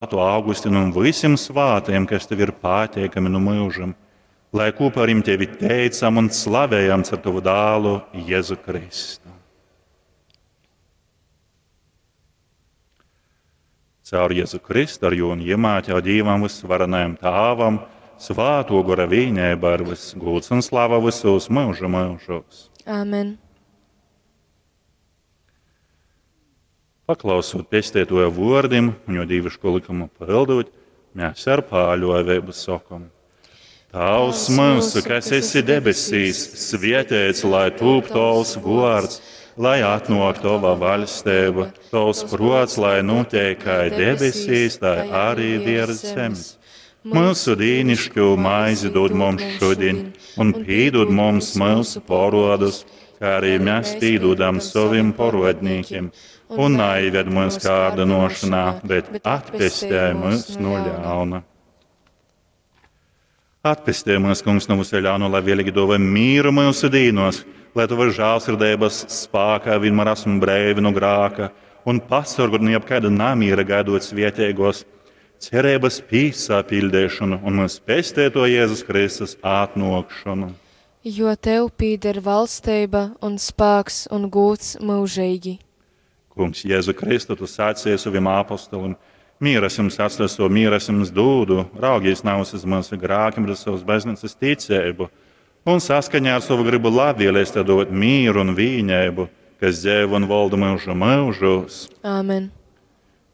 Augustinu un visiem svātajiem, kas tev ir pateikami no mūžam, lai kopā ar viņiem tevi teicam un slavējam caur tavu dēlu Jēzu Kristu. Caur Jēzu Kristu, ar jū un iemāķā Dievam visvarenajam Tāvam, svāto gora vīnēba ar viss gūts un slava visos mūža mūžos. Āmen. Paklausot pestētoja vārdim un jo dīviško likumu pildot, mēs ar pāļovēbu sakam. Tavs mūsu, kas esi debesīs, svietēts, lai tūp tavs vārds, lai atnāk tava vaļstība, tavs prots, lai notiek kā debesīs, tā arī virs zemes. Mūsu dīnišķo maizi dod mums šodien, un pīdod mums mūsu porodus, kā arī mēs pīdodam saviem porodnīkiem, un neived mūs kārdinošanā, bet atpestē mūs no ļauna. Atpestē mūs, kungs, no visa ļauna, lai vēlīgi dova mīru mūsu dīnos, lai tava žālsirdības spākā vienmēr esam brēvi no grāka un pasargot no jebkāda namīra gaidot svietēgos cerības pīsāpildēšanu un mūsu pestēto Jēzus Kristus atnokšanu. Jo tev pīder valstība un spēks un gūts mūžīgi. Kungs, Jēzu Kristu, tu sacīji saviem apostolim, mieras jums atstaso, mieras jums dūdu, raugies nav uz mūsu grākiem, bet uz savas baznīcas ticību, un saskaņā ar savu gribu labvēlēs tev dot mieru un vīņēbu, kas dzēv un valda mūžu mūžos. Āmen.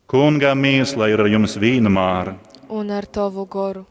Kungā mīs, lai ir ar jums vienmēr. Un ar tavu goru.